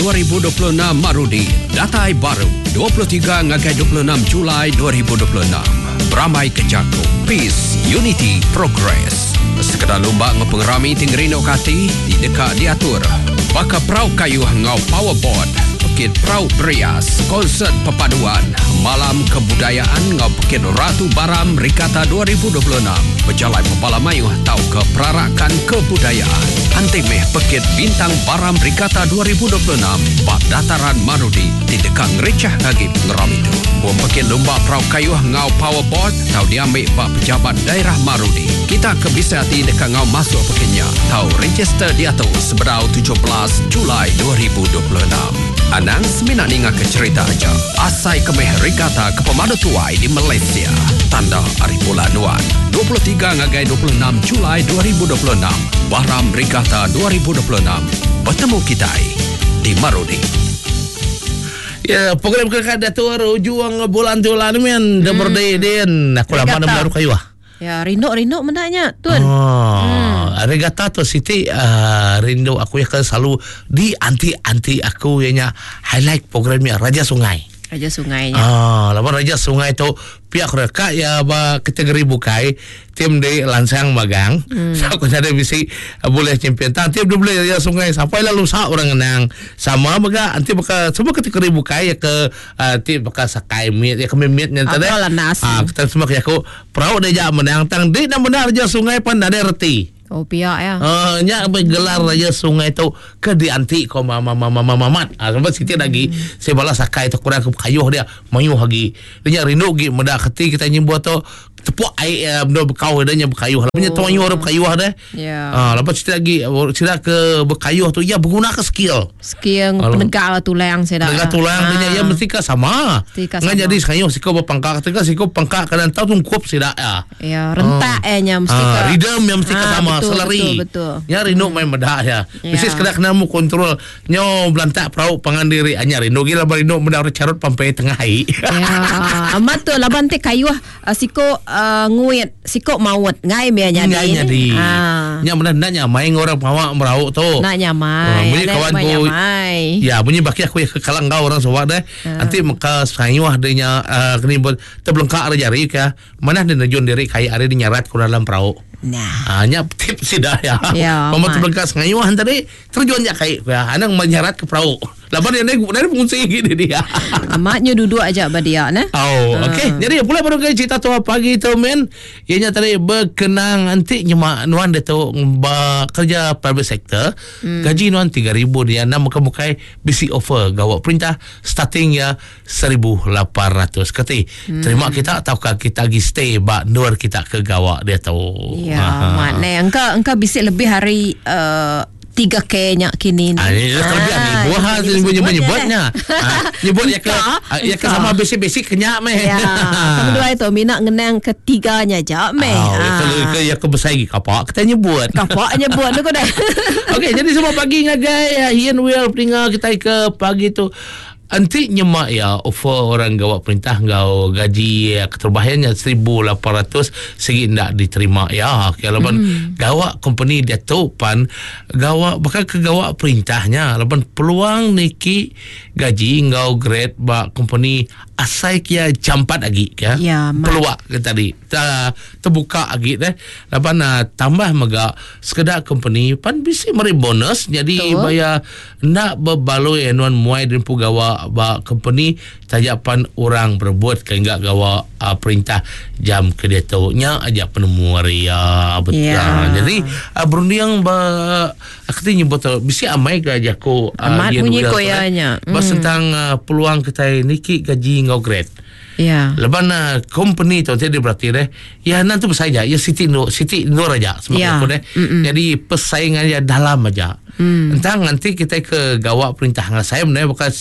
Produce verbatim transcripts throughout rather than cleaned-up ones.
dua ribu dua puluh enam Marudi datai baru dua puluh tiga ngagai dua puluh enam Julai dua ribu dua puluh enam. Beramai ke jaku Peace, Unity, Progress. Sekedar lumba ngau pengerami tinggi rindu kati di dekat diatur. Baka perau kayu ngau powerboard, Pekit Perau Berias, konsert perpaduan, malam kebudayaan ngau Pekit Ratu Baram Regatta dua ribu dua puluh enam, berjalai pepala mayuh tau ke perarakan kebudayaan. Anti meh Pekit Bintang Baram Regatta dua ribu dua puluh enam, bak dataran Marudi, di dekat ngericah lagi pengeram itu. Bom Pekit Lumba Perau Kayuh ngau powerboard tau diambil bak pejabat daerah Marudi. Kita ke bisa hati dekat ngau masuk pekitnya. Tau register dia tu seberau tujuh belas Julai dua ribu dua puluh enam. Anang semina ninga ke cerita aja. Asai kemeh regatta ke pemadu tuai di Malaysia. Tanda hari bulan nuan. dua puluh tiga ngagai dua puluh enam Julai dua ribu dua puluh enam. Baram Regatta dua ribu dua puluh enam. Bertemu kita di Marudi. Ya, program kerja Datuk Ujung bulan tu lah ni men. Dah berdiri. Aku lama dah baru kayu ah. Ya, rindu-rindu mendaknya, Tun. Oh, hmm. Regatta tu Siti uh, rindu aku ya kan selalu di anti-anti aku ianya highlight programnya Raja Sungai. Raja Sungainya. Ah, lawan Raja Sungai tu pihak mereka ya ba kategori bukai tim di Lansang Magang. Hmm. So aku ada bisi boleh champion. Tang tim dia boleh Raja Sungai sampai lalu sak orang menang. Sama mega anti baka semua kategori bukai ya ke uh, tim baka sakai mit ya ke mit nya tadi. Ah, kita semua ke aku perahu dia jak menang tang di nak menang Raja Sungai pun ada reti. Oh pihak ya. Uh, nya bergelar Raja Sungai tu ke dianti ko mama mama mama mat. Ah sebab sikit lagi hmm. Saya balas sakai tu kurang ke kayuh dia mayuh lagi. Dia rindu gi meda keti kita nyimbo tu tepuk air benda bekau dia nya berkayuh. Punya oh. Tuan orang berkayuh dah. Ya. Ah lepas cerita lagi cerita ke berkayuh tu ya berguna ke skill. Skill penegak tulang saya dah. Penegak tulang ah. Dia ya mesti ke sama. Ngan jadi sekayuh siko berpangkak ketika siko pangkak kadang tahu tungkup sida ya. Ya rentak eh nya mesti ke. Rhythm yang mesti ke sama. Betul, selari. Betul, betul. Ya rindu main medah ya. Mesti sekadar kena mu kontrol nyo belantak perahu pangan diri anya rindu gila rindu medah carut pampai tengah ai. Ya. Amat tu laban te kayuh siko uh, nguit siko maut ngai mia nyadi. Ngai nyadi. Ah. Nya benar nak nyamai orang pawak merau tu. Nak nyamai. Bunyi kawan ku. Ya bunyi baki aku ya kekalang kau orang sawak deh. Nanti maka sayuh dia uh, kini buat terbelengkak ada jari ke. Mana dia nerjun diri kayak ada di nyarat ku dalam perahu. Nah. Ah, nya tips sih dah ya. Ya. Mama terbelengkak sengayuhan tadi terjun ya kayak ya. Anang menyarat ke perahu. Laban dia naik dari fungsi gini dia. Amatnya duduk aja ba dia nah. Oh, uh. Okey. Jadi pula baru ke cerita tu pagi tu men. Ianya tadi berkenang nanti nyemak nuan dia tu kerja private sector. Hmm. Gaji nuan tiga ribu dia enam muka-mukai B C offer gawak perintah starting ya seribu lapan ratus. Kati hmm. Terima kita ataukah kita lagi stay bak nur kita ke gawak dia tu. Ya, maknanya engkau engkau bisik lebih hari uh, tiga K nya kini ni. Ah, ini kelebihan ni. Buah nyebut-nyebutnya. Nyebut ya ke ya ke sama basic-basic kenyak meh. Ya. Kamu dua itu minat ngenang ketiganya je meh. Oh, ke ya ke besar lagi kapak kita nyebut. Kapak nyebut tu dah. Okey, jadi semua pagi ngagai Ian Will peninga kita ke pagi tu. Anti nyemak ya offer orang gawak perintah ngau gaji ya, keterbahannya seribu lapan ratus segi ndak diterima ya. Okey laban hmm. Gawak company dia tu pan gawak bakal ke gawak perintahnya laban peluang niki gaji ngau grade bak company asai kia jampat lagi ya. Ya peluang ke tadi ta, terbuka lagi deh laban uh, tambah mega sekedar company pan bisi meri bonus jadi betul. Bayar nak berbaloi anuan muai dan pugawak ba company tajapan orang berebut ke enggak gawa uh, perintah jam ke dia tu nya aja penemu ria betul. Yeah. Jadi uh, berunding ba aku nyebut bisi amai ke aja aku uh, amat bunyi koyanya. Bas mm. tentang uh, peluang kita niki gaji ngau grade. Ya. Yeah. Lepas na company tu dia berarti deh. Ya nanti bersaing ya Siti Nur Siti Nur aja semua yeah. aku deh. Jadi persaingan dia dalam aja. Mm. Entah nanti kita ke gawak perintah saya sebenarnya bukan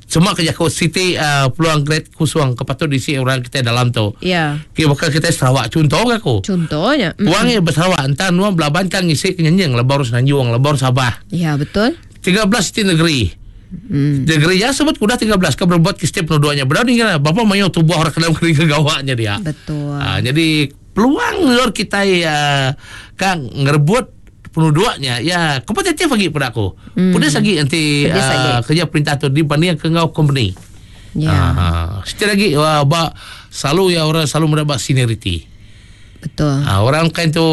cuma kerja aku Siti uh, peluang grade kusuang kepatut diisi orang kita dalam tu. Ya. Yeah. Kira bakal kita Sarawak contoh ke aku. Contohnya. Peluangnya mm. bersarawak entah nuang belaban kan ngisi kenyanjing lebar Semenanjung, lebar Sabah. Ya, betul. tiga belas Siti negeri. Hmm. Negeri ya sebut kuda tiga belas ke berbuat ke setiap penuduhannya. Berani kan bapa mayo tubuh orang dalam kering kegawaknya dia. Betul. Ha, jadi peluang lor kita ya kan ngerebut Penduduknya ya kompetitif lagi pada aku. Hmm. Pedas lagi nanti uh, kerja perintah tu dibanding ke ngau company. Ya. Uh, setiap lagi wah ba selalu ya orang selalu mendapat seniority. Betul. Ha, orang kan tu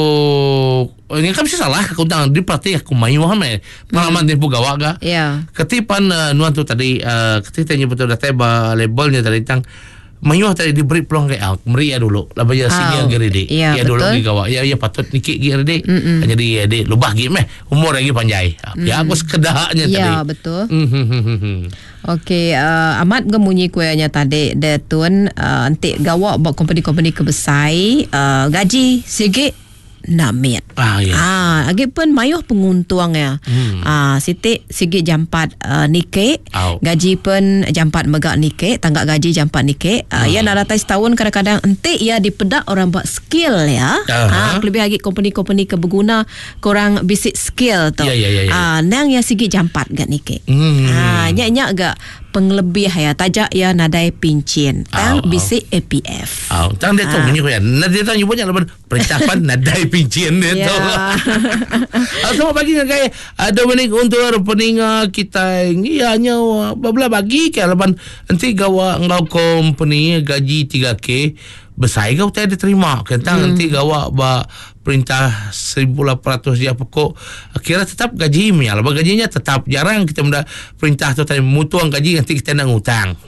ini kan mesti salah aku tang di parti aku mayu hame. Pengalaman hmm. dia gawak ga. Ya. Ketipan uh, nuan tu tadi uh, ketika nyebut tu datai ba labelnya tadi tang mayu tadi diberi peluang ke out meri ya dulu. Laban ya senior gede. Ya, ya dulu gi gawak. Ya ya patut nikik gi gede. Jadi ya di lubah gi meh umur lagi panjai. Mm. Ya aku sekedaknya ya, tadi. Ya betul. Mm. Okey, uh, amat gemunyi kuenya tadi dia tuan uh, entik gawak buat company-company kebesai uh, gaji sikit namit. Ah ya. Ah, lagi pun mayuh penguntung ya. Hmm. Ah, sitik sikit jampat uh, nike, Au. gaji pun jampat megak nike, tangga gaji jampat nike. Ah, Hmm. ya nak datai setahun kadang-kadang entik ya dipedak orang buat skill ya. Aha. Ah, lebih lagi company-company keberguna korang bisik skill tu. Ya, ya, ya, ya. Ah, nang ya sikit jampat gak nike. Hmm. Ah, nyak-nyak gak penglebih ya tajak ya nadai pincin. Tang Au, au. bisik A P F. Ah, tang dia tu bunyi ya. Nah, dia tu nyebutnya laban perintah pan nadai pincin dia Ya. tu. Ah, selamat pagi ngagai uh, Dominic untuk peninga kita ya nyawa babla bagi ke laban nanti gawa ngau company gaji tiga K besar kau tak ada terima kentang hmm. nanti gawa ba perintah seribu lapan ratus dia pokok kira tetap gaji mi lah gajinya tetap jarang kita menda perintah tu tadi mutuang gaji nanti kita nak ngutang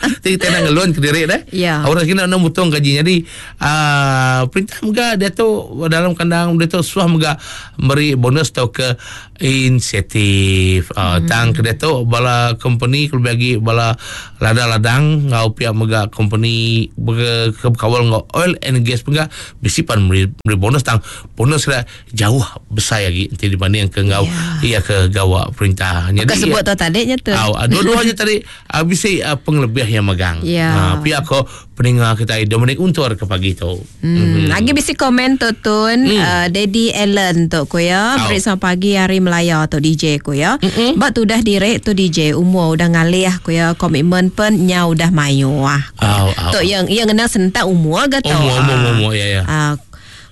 nanti kita nak ngelon ke diri dah Ya. orang kena nak mutuang gaji jadi uh, perintah mega dia tu dalam kandang dia tu suah mega beri bonus atau ke insentif uh, hmm. tang ke dia tu bala company kalau bagi bala ladang-ladang ngau pihak mega company ber, ke kawal ngau oil and gas mega bisi pan beri, beri bonus tang bonus lah jauh besar lagi nanti dibanding ke ngau Ya. iya ke gawak perintah Bukan sebut tu tadi nya tu. Aw, dua-duanya tadi ah, bisi ah, penglebih yang megang. Ya. Ah, pihak ko pendengar kita Dominic Untur ke pagi tu. Hmm. Lagi bisi komen tu tun hmm. uh, Daddy Allen tu ko ya. Au. Beri selamat pagi hari Melaya tu D J ko ya. Bak tu dah direk tu D J umur udah ngalih ko ya komitmen pen nya udah mayu ah. Au, au. Tu yang yang kena sentak umur ke tu. Umur, umur, umur, ya, ya. Ah,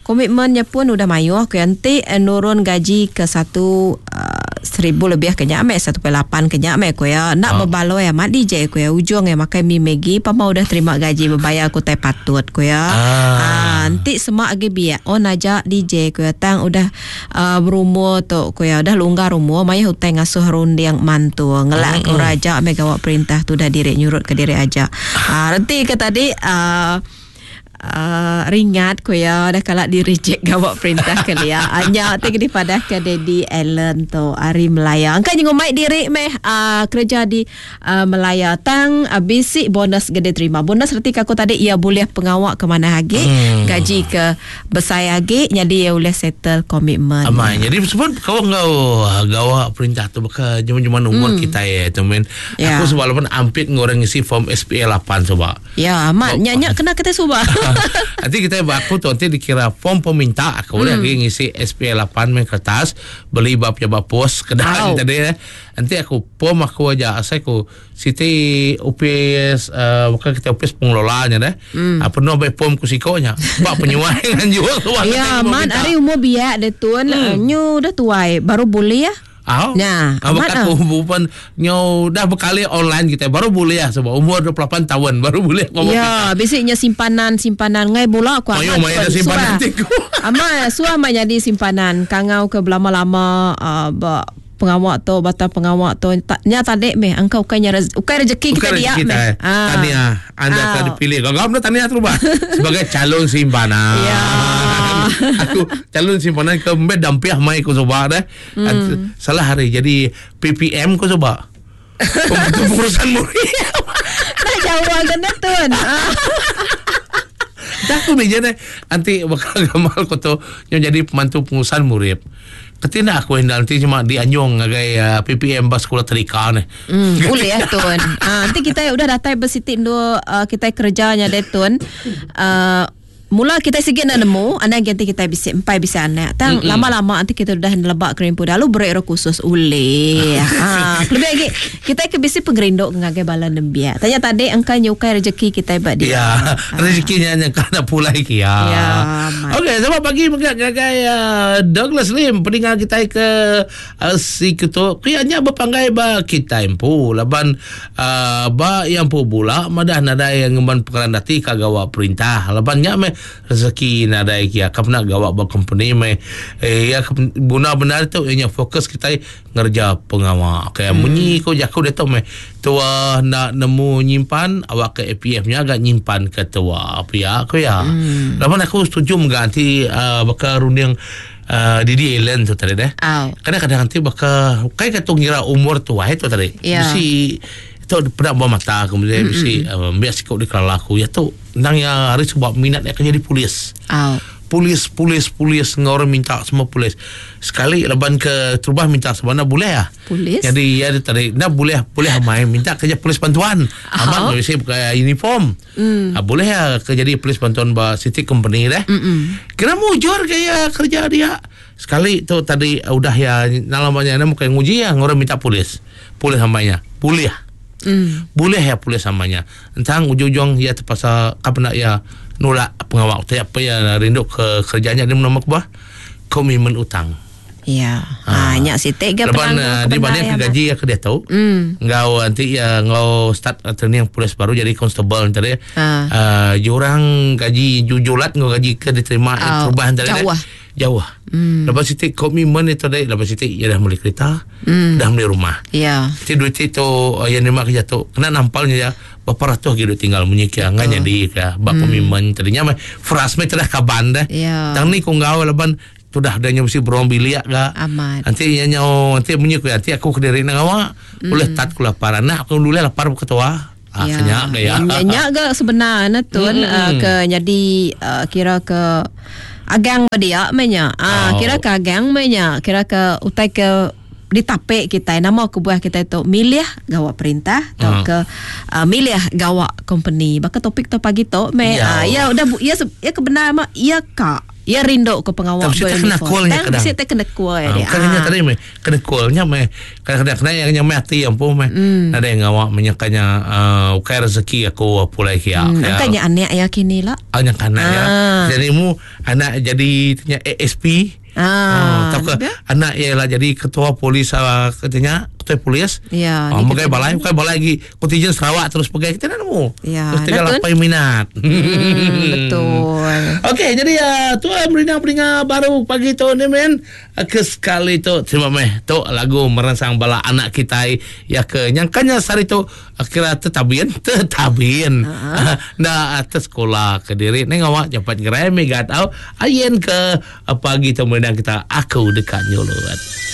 komitmennya pun udah mayu ko ya. Nanti eh, nurun gaji ke satu uh, seribu lebih kenyak mek satu perpuluhan lapan kenyak mek ko ya. Nak Ah. berbaloi amat D J ko ya. Ujung ya makan mi Maggi pama udah terima gaji berbayar ko tai patut ko ya. Ah. Ah, nanti semak lagi biar on aja D J ko ya tang udah uh, berumur tu ko ya udah longgar umur maya hutang ngasuh runding mantu ngelak ko raja mek gawak perintah tu dah direk nyurut ke direk aja. Ah, nanti ke tadi uh, Uh, ringat ko ya dah kalak di reject gawak perintah ke dia. Anya te ke dipadah ke Daddy Allen tu hari Melaya. Angkat jengo mic diri meh uh, kerja di uh, Melaya tang uh, basic bonus gede terima. Bonus reti aku tadi ia boleh pengawak ke mana lagi, Hmm. gaji ke besar lagi jadi ia boleh settle komitmen. Amai. Jadi sebab kau ngau gawak perintah tu baka jaman-jaman umur hmm. kita ya teman. Ya. Aku sebab walaupun ampit ngorang ngisi form S P A lapan sebab. Ya, amat Oh. nyak-nyak kena kita subah. Nanti kita aku tu nanti dikira form peminta aku boleh lagi ngisi S P A lapan main kertas beli bab ya bab pos kedai Au. tadi eh. Nanti aku form aku aja asal aku Siti U P S uh, bukan kita U P S pengelolanya deh. Hmm. Apa penuh baik form ku sikonya. Bab penyuai dengan jual tu. Ya, man hari umur biak dia tuan, hmm. nyu dah tuai baru boleh ya. Aw. Nah, ah, amat bukan aku bukan nyo dah berkali online kita baru boleh ya sebab umur dua puluh lapan tahun baru boleh ngomong. Ya, biasanya simpanan-simpanan ngai bola aku Mayo, amat mayo ada tuan. simpanan Suah. tiku. Amat suah mak jadi simpanan kangau ke berlama-lama uh, ba, pengawak tu batal pengawak tu tak nya tadi meh angkau bukannya rez, bukan rezeki kita Bukan dia rezeki kita. meh. eh. Tahniah anda Ah. telah dipilih. Kau kau tahniah terubah sebagai calon simpanan. Ya. Aku calon simpanan ke mbet dampiah mai ku coba dah. Hmm. Salah hari jadi P P M ku coba. Pembantu pengurusan murid. Tak jauh kena tuan. Ah. Dah aku meja deh. Nanti bakal gamal ku tu yang jadi pembantu pengurusan murid. Ketina aku hendak nanti cuma dianjung ngagai uh, P P M bas sekolah terika ni. Hmm, boleh ya tuan. Ah, nanti kita udah datang bersitik dua uh, kita kerjanya deh tuan. Uh, Mula kita sikit nak nemu, anak ganti kita bisa empai bisa anak. Tang mm-hmm. lama-lama nanti kita udah nelebak kerimpu lalu beri roh khusus ule. Ha, lebih lagi kita ke bisi pengerinduk ngagai bala nembiak. Tanya tadi engkau nyukai rezeki kita bak dia. Ya, rezekinya nya kana pulai ki ya. Ya, Okey, selamat pagi mega ngagai uh, Douglas Lim pendengar kita ke uh, si ketu. Kianya berpanggai ba kita empu laban uh, ba yang pu bula madah nadai yang ngemban perkaran dati kagawa perintah. Laban nya me rezeki nadai kia kapna gawak ba company me eh, ya guna benar tu ianya fokus kita ngerja pengawa okey hmm. Munyi ko jaku dia tu me tua nak nemu nyimpan awak ke A P F nya agak nyimpan ke tua apa ya aku ya hmm. Laban aku setuju mengganti uh, bakal runding Uh, Didi Ellen tu tadi deh. Oh. Kadang-kadang nanti bakal kai kata ngira umur tua itu tadi. Yeah. Mesti tu pernah bawa mata kemudian mesti uh, biasa kau dikelala aku ya tu nang yang hari sebab minat dia akan jadi polis. Oh. Polis polis polis ngorang minta semua polis. Sekali leban ke terubah minta sebenarnya boleh ah. Polis. Jadi ya dia tadi nak boleh boleh main minta kerja polis bantuan. Amat mesti pakai uniform. Mm. Ah, boleh ya kerja jadi polis bantuan ba city company deh. Mm-mm. Kira mujur kayak kerja dia. Sekali tu tadi udah ya namanya nak bukan nguji ya ngorang minta polis. Polis samanya. Boleh. Mm. Boleh ya polis samanya. Entang ujung-ujung ya terpaksa kapan nak ya nolak pengawal tak apa ya rindu ke kerjanya dia menama kubah komitmen utang. Ya. Ha, nyak sitik ke Lepas uh, di mana ke gaji ya ke dia tahu. Mm. Ngau nanti ya ngau start training polis baru jadi constable nanti. Ha. Uh, jurang gaji jujulat ngau gaji ke diterima Oh, perubahan tadi. jauh. Jauh. Mm. Lepas sitik komitmen itu tadi lepas sitik ya dah beli kereta, Mm. dah beli rumah. Ya. Ti duit itu yang nerima kerja tu kena nampalnya ya berapa ratus gitu tinggal munyi kia ngan jadi ke bak komitmen tadinya mah frust mah telah kaban dah. Ya. Tang ni ku ngau laban tu dah adanya mesti berong bilik ga. Amat. Nanti nya nyo nanti munyi ku nanti aku kediri nang awak boleh tat ku lapar anak aku dulu lapar ku ketua. Ah Ya. kenyak ke ya. Nyak ke sebenarnya tu Mm. uh, ke jadi uh, kira ke agang dia menya. Ah Oh. kira ke agang menya, kira ke utai ke ditapek kita nama kebuah kita itu milih gawak perintah atau Hmm. ke uh, milih gawak company. Baka topik tu pagi tu me Ya. ah, ya udah bu, ya se- ya kebenar mah ya kak. Ya rindu ke pengawal Tapi kita kena callnya Tang kadang. mesti kena call Ah, dia. bukan hanya tadi meh kena callnya meh kadang-kadang kena yang nyamai hati yang pun meh Hmm. ada yang ngawak menyangkanya uh, ukai rezeki aku pulai kia. Hmm, angkanya anak ya kini lah. Hanya kanak ya. Ah. Jadi mu anak jadi tanya A S P. Ah, Oh, tak ke dia? anak ialah jadi ketua polis ah, katanya ketua polis. Ya, Oh, ni pakai kita- balai, pakai balai lagi kontijen Sarawak terus pakai kita nak nemu. Ya, Terus tinggal betul. apa yang minat. Hmm, betul. Okey, jadi uh, tuan pendengar-pendengar baru pagi tu ni men ke sekali tu terima meh tu lagu merangsang bala anak kita ya ke nyangkanya sehari tu kira tetabin tetabin uh-huh. nah atas sekolah ke diri ni ngawak cepat gerai megat au ayen ke pagi tu mendengar kita aku dekat nyulut.